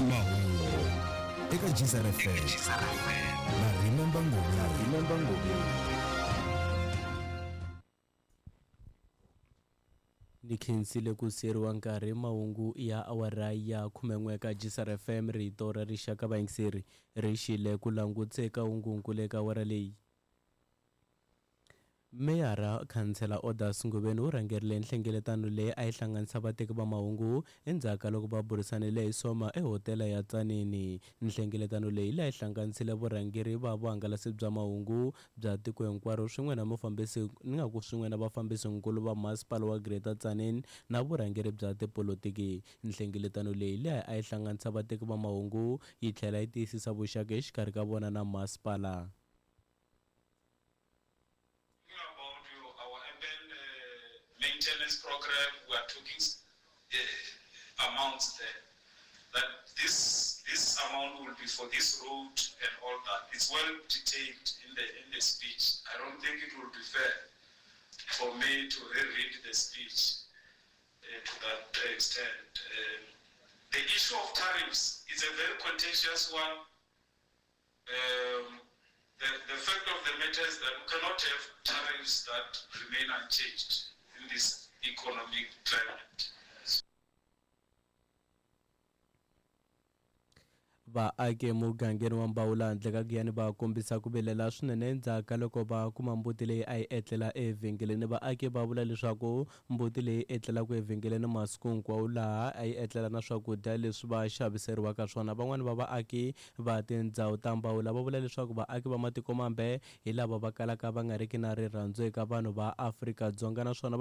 Mahungu eka Gzar FM na Remember Ngobeni. Ni khensile ku siyeriwa nkarhi mahungu ya awara ya 11 ka Gzar FM rito ra rixaka vayingiseri ri xile ku langutse eka hungunkulu eka awara leyi. Meyara Khansela Odas Ngobeni u rhangerile nhlengeletano leyi a yi hlanganisa vateki va mahungu endzhaku ka loko va burisanile hi Soma ehotela ya Tzaneen. Nhlengeletano leyi leyi a yi hlanganisile vurhangeri va vuhangalasi bya mahungu bya tiko hinkwaro swin'we na mufambisi ni nga ku swin'we na vafambisinkulu va masipala wa Greater Tzaneen na vurhangeri bya tipolotiki. Nhlengeletano leyi leyi a yi hlanganisa vateki va mahungu yi tlhela yi tiyisisa vuxaka exikarhi ka vona na masipala. About our urban maintenance program, we are talking amounts there. That this amount will be for this road and all that. It's well detailed in the speech. I don't think it will be fair for me to reread the speech to that extent. The issue of tariffs is a very contentious one. The fact of the matter is that we cannot have tariffs that remain unchanged in this economic climate. Vaaki emugangeni wa Mbawula handle ka Giyani va kombisa ku vilela swinene endzhaku ka loko va kuma mbuti leyi a yi etlela evhengeleni. Vaaki va vula leswaku mbuti leyi etlelaka evhengeleni masiku hinkwawo laha a yi etlela na swakudya leswi va xaviseriwaka swona. Van'wani va vaaki va tindhawu ta Mbawula va vula leswaku vaaki va matiko mambe hi lava va kalaka va nga riki na rirhandzu eka vanhu va Afrika-Dzonga naswona va.